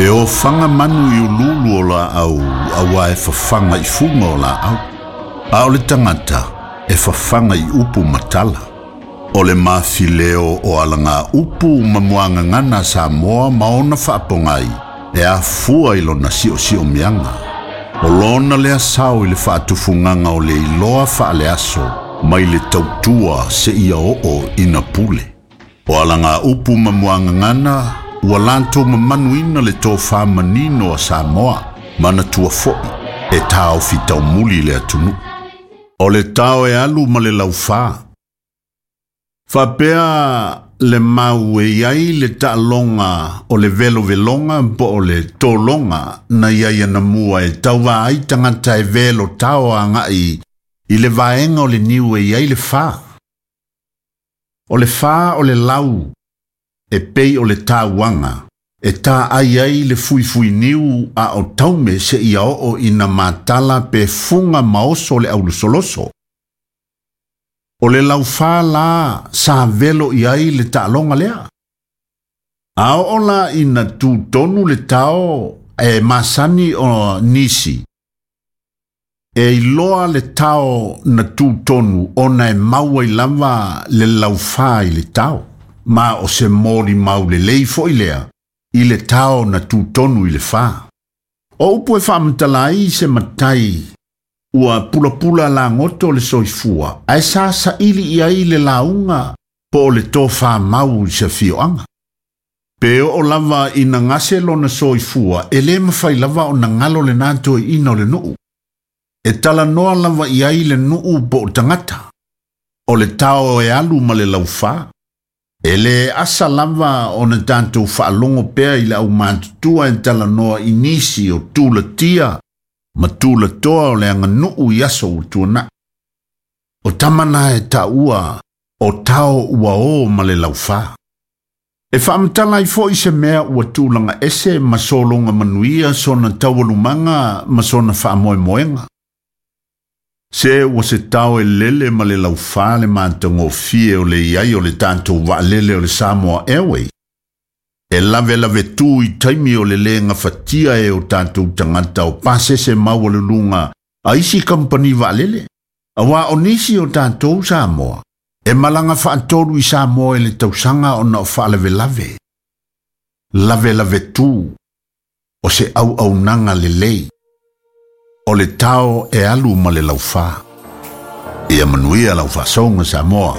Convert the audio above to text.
E ofaga manu i uluulu o laau auā e fafaga i fuga o laau, a o le tagata e fafaga i upu ma tala. O le mafileo o alagaupu ma muagagana a Samoa ma ona faapogai e afua i lona siosiomiaga. O lona lea sao i le faatufugaga o le iloa faaleaso mai le tautua seia oo ina pule. O alagaupu ma muagagana ua latou mamanuina le tofā manino a Samoa, manatua foi e taofi taumuli le atunuu. O le tao e alu ma le laufā. Faapea le mau e i ai le taaloga o le veloveloga po o le tologa na i ai anamua e tauvā ai tagata e velo tao agai i le vaega o le niu e i ai le fā. O le fā o le lau e pei o le tauaga e taai ai le fuifuiniu a o taume seia oo ina matala pe fuga ma oso le aulosoloso. O le laufā la sa velo i ai le taaloga lea. A oo la ina tutonu le tao e masani o nisi, e iloa le tao na tutonu ona e maua i lava le laufā i le tao. Ma o se molimau lelei foi lea i le tao na tutonu i le fā. O upu e faamatala ai se matai ua pulapula lagoto le soifua, ae sa saili i ai le lauga po o le tofamau i se afioaga. Pe oo lava ina gase lona soifua, e lē mafai lava ona galo lenā toeaina o le nuu. E talanoa lava i ai le nuu po o tagata. O le tao e alu ma le laufā. E lē asa lava ona tatou faalogo pea i le aumatutua e talanoa i nisi o tulatia ma tulatoa o le aganuu i aso ua tuanai. O tama na e taua o tao ua o ma le laufā. E faamatala ai foi se mea ua tulaga ese ma sologa manuia sona taualumaga ma sona faamoemoega. Se ua se tao e lele ma le laufā le matagofie o le i ai o le tatou vaalele o le Samoa Airways. E lavelave tu i taimi o le lē gafatia e o tatou tagata o pasese maualuluga a isi kamupani vaalele. Auā o nisi o tatou Samoa e malaga faatolu i Samoa i le tausaga ona o faalavelave. Lavelave tu o se auaunaga lelei. O le tao e alu ma le laufā. Ia manuia lau faasoga Samoa.